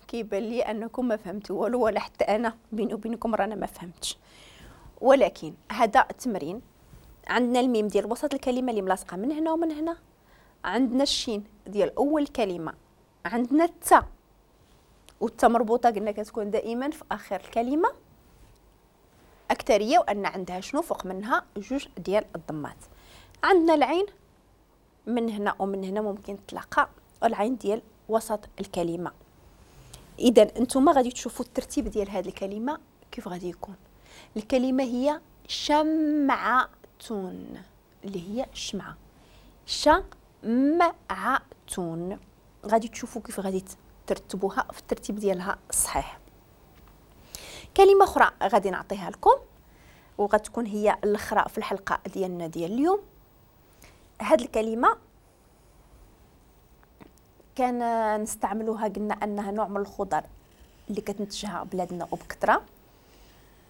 كيبان لي انكم ما فهمتوا والو، ولا حتى انا بيني وبينكم رانا ما فهمتش. ولكن هذا التمرين عندنا الميم ديال وسط الكلمة اللي ملاصقه من هنا ومن هنا، عندنا الشين ديال اول كلمة، عندنا التاء، والتاء مربوطة قلنا كتكون دائما في اخر الكلمة اكثرية، وان عندها شنو فوق منها جوج ديال الضمات. عندنا العين من هنا ومن هنا ممكن تلاقى العين ديال وسط الكلمة. اذا انتم غادي تشوفوا الترتيب ديال هذه الكلمة كيف غادي يكون. الكلمة هي شمعة اللي هي الشمعة، شمعة. غادي تشوفوا كيف غادي ترتبوها في الترتيب ديالها الصحيح. كلمة اخرى غادي نعطيها لكم وغتكون هي الاخرى في الحلقة ديالنا ديال اليوم. هاد الكلمة كان نستعملوها، قلنا انها نوع من الخضر اللي كتنتجها بلادنا وبكثرة.